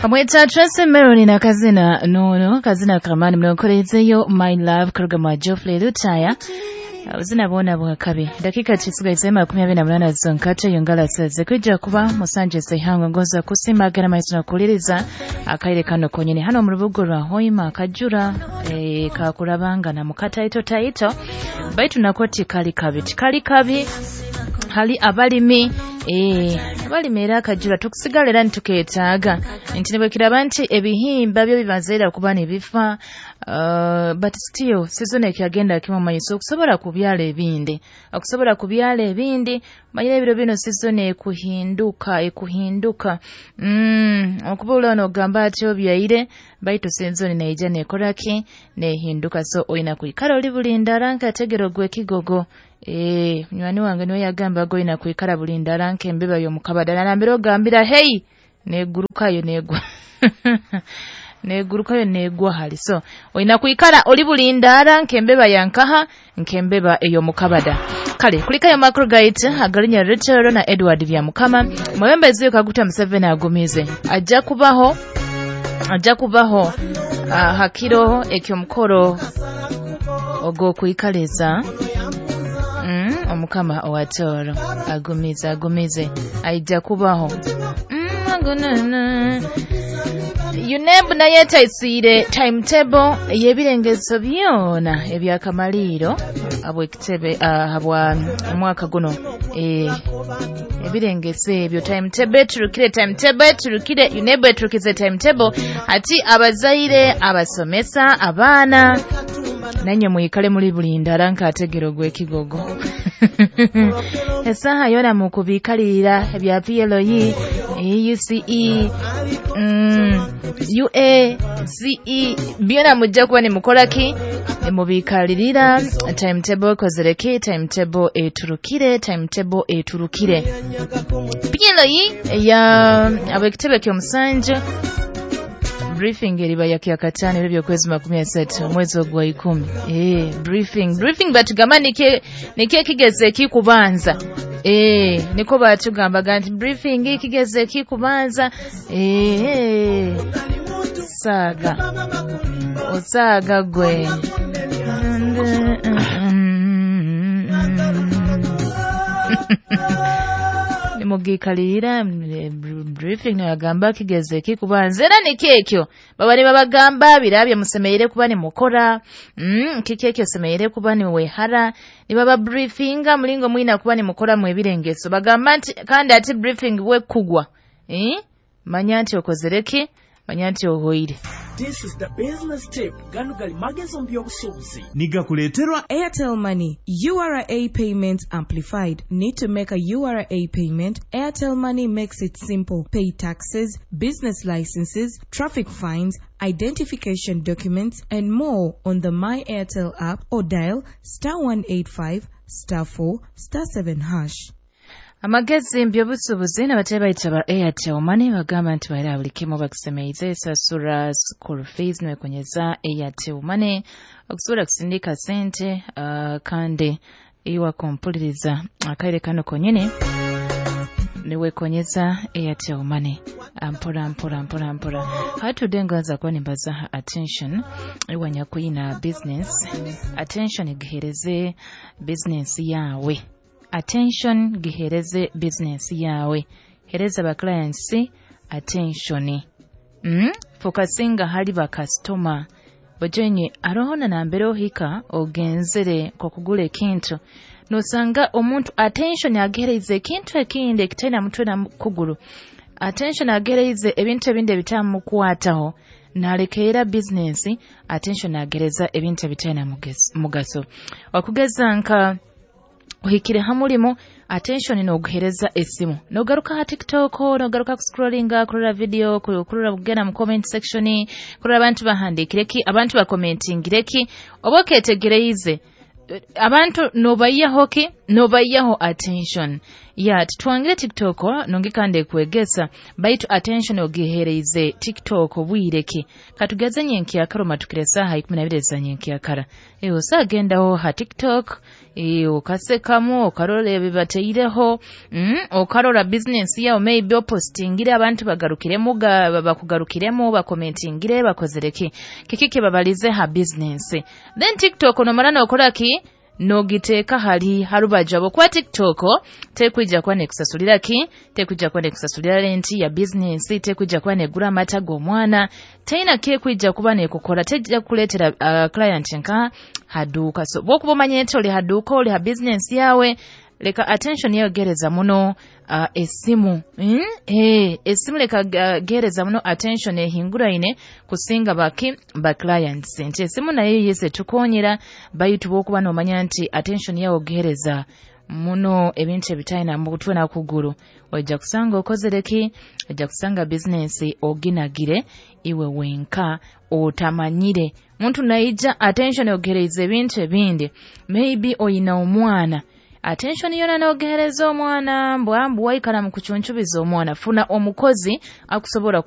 Amweta Tracy Melody na kazina nono kazina kamani mnakorezeyo My Love kuruga mwa Geoffrey Lutaya. Ubuzina bwona bwakabi dakika kisigaye 28 zonkate yongala saze kwijja kuba musanje sehangwe ngoza kusimagana maiso nakuliriza akaire kano konyene hano mu rubugo rwa Hoima akajura kakurabanga na mukataito taito baitu nakoti kali kabi tikali kabi hali abalimi abalimi era akajura tukusigala era ntuketaaga nti nibwekiraba nti ebihimba byo bibazeera kuba ne bifa, but still season ekyagenda kimu maiso okusobola kubyala ebindi manyire ebiro bino season ekuhinduka okuba ono ogamba ati obyaire baitu season neija nekoraki nehinduka, so oyina kuikara oli bulindara nkategero gwe kigogo. Munywani wange niwe yagamba goyina kuikara bulindara nkembeba y'omukabadala nambere ogambira hey negurukayo negwa negurukayo negwa hali, so oyina kuikara oli bulindara nkembeba yankaha nkembeba ey'omukabada. Kale kulikayo makro guide agalinya Rachel na Edward Byamukama mwebembezi Kaguta Museveni agumize ajja kubaho hakiro ekyomukoro ogwo kuikaleza omukama owatoro agumize aija kubaho. UNEB naye taisire timetable yebirengezo byona ebyakamaliro abwekitebe habwa mwaka guno ebirengezo ebyo timetable turukire UNEB eturukize timetable ati abazaire abasomesa abaana nanye muyikale muri bulindara nkategero gwe kigogo. Esaha yona mukubikalira ebya PLE, UCE, UA, CE byona mujja kuba ne mukolaki mubikalirira timetable kozereki timetable eturukire PLE ya abekitebe ky'omusanju briefing eriba ya kyakatano ebyo kwezi 13 mwezi ogwa 10. Briefing batugamba nike kigeze kikubanza. Niko batugamba nti briefing kigeze kikubanza. Saga osaga gwe. Mugikalira briefing nagamba kigeze kikubanza era nikekyo baba ne babagamba birabye musemeire kuba ne mukora kikekyo semeire kuba ni wehara ni baba briefinga mulingo mwina kuba ne mukora mu ebirengeso bagamba nti kandi ati briefing we kugwa manya nti okozereki manya nti ohoire. This is the business tip. Gano gali magezo mbyobusuubuzi. Nigakuleterwa Airtel Money. URA payments amplified. Need to make a URA payment? Airtel Money makes it simple. Pay taxes, business licenses, traffic fines, identification documents, and more on the My Airtel app or dial *185 *4 *7#. Amagezi mbyobusuubuzi n'abatebe bayita ba Airtel Money bagamba nti baira buli kimu bakusemeize sasura school fees nwekonyeza Airtel Money okusobola kusindika sente kandi iwa kompuliriza akaire kano konyene niwekonyeza Airtel Money mpora mpora mpora mpora. Hatude ngaza kuba nimbaza attention iwanya kuyina business attention gihereze business yawe. Attention gihereze business yawe. Hereza ba clients attention. Focusinga hali ba customer. Bojenye arohona na mbere ohika ogenzere kwa kugula ekintu. Nosanga omuntu attention agereze ekintu ekindi ekitena mutwe na kuguru. Attention agereze ebintu ebindi ebitamukwataho. Nalekeera business attention agereza ebintu ebitena mugaso. Wakugeza nka uhikire hamulimo attention noguhereza esimu nogaruka ha TikTok nogaruka ku scrollinga kurora video kurora kugenda mu comment section kurora abantu bahandikireki abantu bakomentingireki oboketegereize abantu nobayaho ki nobayaho attention ya tutwangire TikTok nongikande kuegesa baitu attention ogihereize TikTok bwireke katugeze nyenki akaro matukire saha 12 za nyenki akara eyo sagendaho ha TikTok Okasekamu, okarora ebibateireho, okarora business yawe, maybe opostingire, abantu bagarukiremu, bakugarukiremu, bakomentingire, bakozere ki, kiki kibabalize ha business. Then TikTok nomara nokora ki, nogiteeka hali harubaju, habwokuba TikTok tekwija kuba nekusasulira ki, tekwija kuba nekusasulira renti ya business, tekwija kuba negura amata g'omwana, teina kekwija kuba nekukora, tejja kukuleetera client nka haduuka. So bwokuba omanye nti oli haduuka, oli ha business yawe, leka attention yawe gereza muno esimu, esimu leka gereza muno attention ehinguraine kusinga baki ba clients, nti esimu nayo yese tukonyera, baitu bwokuba nomanya nti attention yawe ogereza muno ebintu ebitalina mutwe na kuguru, ojja kusanga okozere ki, ojja kusanga business oginagire iwe wenka otamanyire. Muntu naija attention ogereize ebintu ebindi, maybe oyina omwana, attention yona nogereza omwana, mbwa mbu waikara mu kucuncubiza omwana. Funa omukozi akusobola.